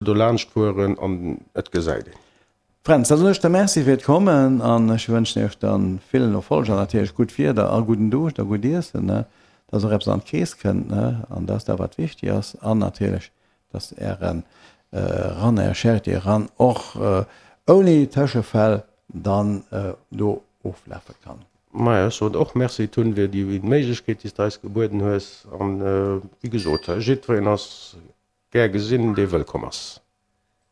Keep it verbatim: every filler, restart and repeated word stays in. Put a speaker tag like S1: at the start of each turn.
S1: Do laanscht fueren an et gesäit een.
S2: Fränz, da soen ech der Merci fir d'Kommen an ech wënschen iech dann villen Erfolg an natierlech gutt Wieder a gudden Duuscht a gutt Iessen, ne, dass och eppes an d'Keess kënnt, ne, an dass dat wat wichtig ass an natierlech, dass ären Run, är Charity Run och ouni Tëschefäll dann do oflafe kann.
S1: Maja, ech soen och Merci Tun fir déi Méiglechkeet déi s de eis gebueden hues an wéi gesot, jiddwereen ass gär gesinn, dee wëllkomm ass.